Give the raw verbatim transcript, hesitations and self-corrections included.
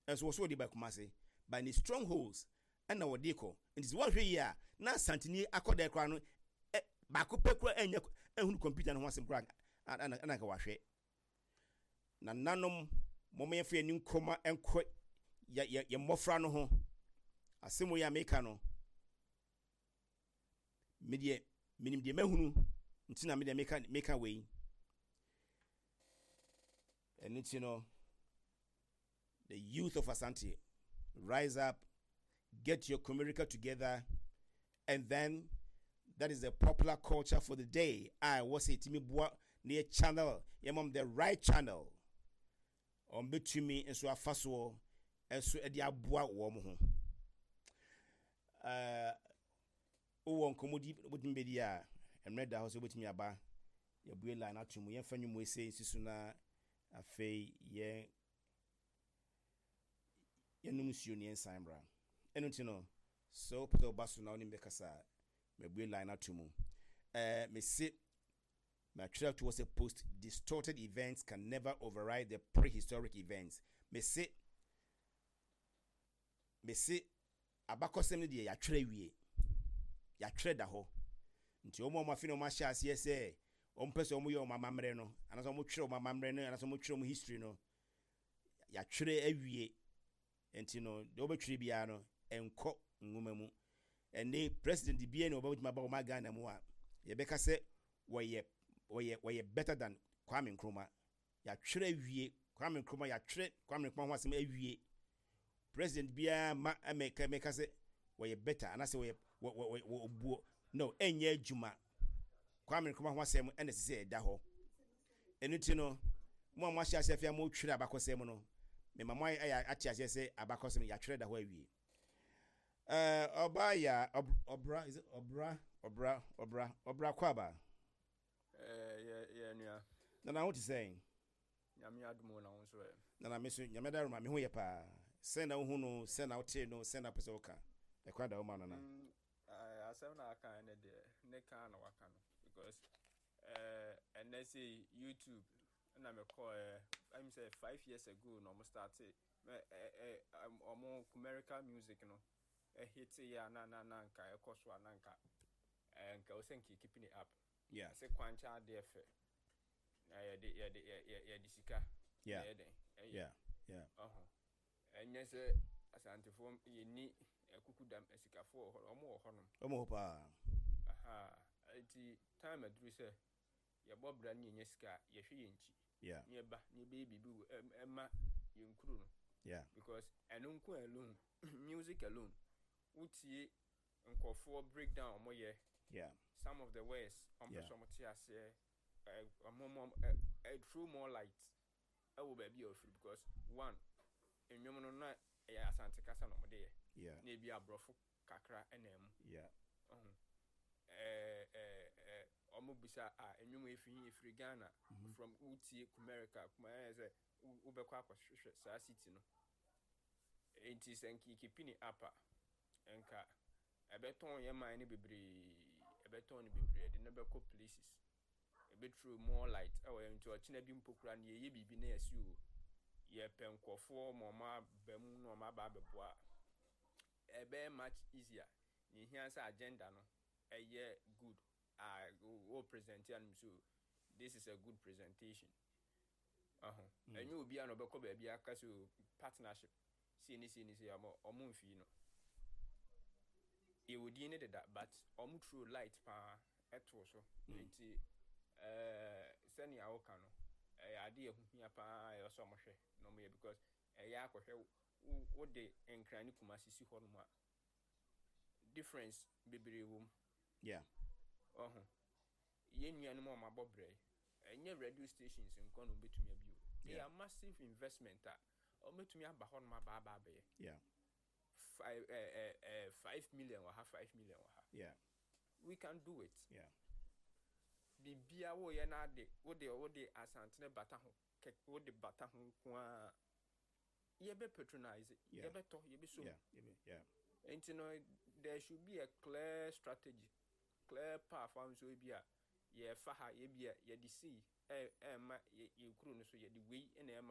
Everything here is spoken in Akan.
Ɛnso wɔ so wɔde ba Kumase, but ne strongholds ɛna wɔde kɔ. Nti sɛ wɔhwɛ yie a, na Asanteni akɔda koraa no ɛ baako pɛ koraa ɛnyɛ ɛhunu computer no ho asɛm koraa ɛna ɛna nka wahwɛ. Nananom, mɔmɔ yɛmfa yɛn ani nkɔma nkɔ yɛ yɛ yɛ mmɔfra no ho. Asɛm yi a meka no, me deɛ menim deɛ mahunu nti na me deɛ meka meka wei. Ɛno nti no, the youth of Asante, rise up, get your community together, and then that is the popular culture for the day. A ɛwɔ sɛ yɛtumi boa na yɛ channel yɛmam the right channel ɔmbɛtumi nso afa soɔ ɛso de aboa wɔn ho. ɛɛ wowɔ nkɔmmɔdi wobɛtumi bɛdi a, mmerɛ da hɔ sɛ wobɛtumi aba. Yɛbue line ato mu. Yɛmfa nnwom ese nsi so na afei yɛn yɛnom nsuo ne yɛnsan mmra. Ɛno nti no, sɛ wopɛ sɛ woba so na wonim bɛkasa a, mabue line ato mu. ɛɛ mese matwerɛ to hɔ sɛ post distorted events can never override the prehistoric events. mese mese abakɔsɛm no deɛ, yɛatwerɛ wie, yɛatwerɛ da hɔ. Nti wɔn a wɔn afi na wɔn ahyɛ aseɛ sɛ wɔn pɛ sɛ wɔn yɛ wɔn amammerɛ no anaasɛ wɔn twerɛ wɔn amammerɛ no anaasɛ wɔn twerɛ wɔn history no, yɛatwerɛ awie. Nti no, deɛ wɔbɛtwerɛ biara no nkɔ nwoma mu. Ɛne president biara na wɔbɛtumi aba wɔn Ghana mu a yɛbɛka sɛ wɔyɛ wɔyɛ wɔyɛ better than Kwame Nkrumah. Yɛatwerɛ awie. Kwame Nkrumah, yɛatwerɛ Kwame Nkrumah ho asɛm awie. President biara ma ɛmɛka mɛka sɛ wɔyɛ better anaasɛ wɔyɛ wɔ wɔ wɔ obuo no, ɛnyɛ adwuma. Kwame Nkrumah ho asɛm ɛna ɛsɛ sɛ ɛda hɔ. Ɛno ti no, mo a mo ahyɛ aseɛ afei a mo twerɛ abakɔsɛm no, mɛma mo ayɛ ate aseɛ sɛ abakɔsɛm yɛatwerɛ da hɔ awie. ɛɛ ɔbaa yɛ ɔbra, is it ɔbra, ɔbra, ɔbra, ɔbra kɔ aba? Ɛɛ yɛ yɛ nua. Nana, ho te sɛn? Nyame adum na wo nso ɛ? Nana, me so Nyame daroma, me ho yɛ paa. Sɛn na wohu no? Sɛn na wotee no? Sɛn na wopɛ sɛ woka? Ɛkwan da wo ma, Nana. Mm, asɛm na aka ɛnɛ deɛ, ne ka na waka no, because ɛɛ ɛnɛ sɛ YouTube ɛna mekɔɔ ɛm sɛ five years ago na ɔmo start ɛ ɛ ɔmo Kumerica music no. Ɛhit yɛ a na na na nka ɛkɔ so a, na nka ɛɛ nka ɔsɛ nka keeping it up. Yeah. Sɛ kwankyɛn adeɛ fɛ na yɛde yɛde yɛ yɛde sika. Yeah. Yɛ den ɛyɛ. Yeah. Yeah. Ɔho ɛnyɛ sɛ Asantefoɔ yɛni ɛkuku dam asikafoɔ wɔ hɔ, ɔmo wɔ hɔnom. Ɔmo hɔ paa. Aha, nti time aduru sɛ yɛbɔ bra ne yɛnya sika a, yɛhwɛ yɛn nkyi Yeah. ne yɛba ne yɛbɛyɛ biribi wɔ ɛm ɛma yɛn kuro no. Yeah. Because ɛno nko alone, music alone, wotie nkɔfoɔ breakdown ɔmo yɛ Yeah. some of the words ɔmo pɛ Yeah. sɛ ɔmo te aseɛ, ɛ ɔmo ɔmo ɛ ɛ throw more light ɛwɔ baabi a ɔfiri, because one, nnwom no na ɛyɛ Asante kasa na ɔmo de yɛ Yeah. na ebi aborɔfo kakra ɛna mu. Yeah. Ɔho ɛɛ ɛɛ ɛɛ ɔmo bisa a, nnwom efiri efiri Ghana from wotie Kumerica kuma ɛyɛ sɛ wo wobɛkɔ akɔhwehwɛ saa city no. Nti sɛ nka keep it up a, nka ɛbɛtɔn yɛ man no bebree, ɛbɛtɔn no bebree, ɛde no bɛkɔ places, ɛbɛthrow more light ɛwɔ yɛn. Nti ɔkyena bi mpo koraa no, yɛyɛ biribi na yɛsi o, yɛpɛ nkɔfoɔ ma ɔmo aba mu na ɔmo aba abɛboa a, ɛbɛyɛ much easier. Ne ehia sɛ agenda no ɛyɛ good a wo present anum, so this is a good presentation. Ɔho ɛnyɛ obi a na ɔbɛkɔ baabi aka sɛ o partnership sei ne sei ne sei. Ɔmo ɔmo mfii no, yɛwɔ din ne deda, but ɔmo throw light paa ɛto so. Nti ɛɛ sɛnea woka no, ɛyɛ ade a ɛho hia paa, ɛyɛ sɛ ɔmo hwɛ na ɔmo yɛ, because ɛyɛ akɔhwɛ wo wode Nkran ne Kumasi si hɔ nom a, difference bebree wɔ mu. Yeah. Ɔho yɛn nuanom a ɔmo abɔ brɛ yi, ɛnyɛ radio stations nkɔ na ɔmo abi o. They Yeah. are massive investment a ɔmo aba hɔ nom aba aba abɛyɛ Yeah. five ɛɛ ɛɛ ɛɛ five million wɔ ha, five million wɔ ha. Yeah. We can do it. Yeah. Biribiara woyɛ na ade wode wode Asantene bata ho kɛ, wode bata ho nko ara, yɛbɛ patronize. Yeah. Yɛbɛtɔ, yɛbɛsom. Yeah. Yeah. Yeah. Nti no, there should be a clear strategy, clear path a nso ebi a yɛfa ha, ebi a yɛde sei ɛ ɛma yɛ yɛ kuro no so, yɛde wei ɛna ɛma.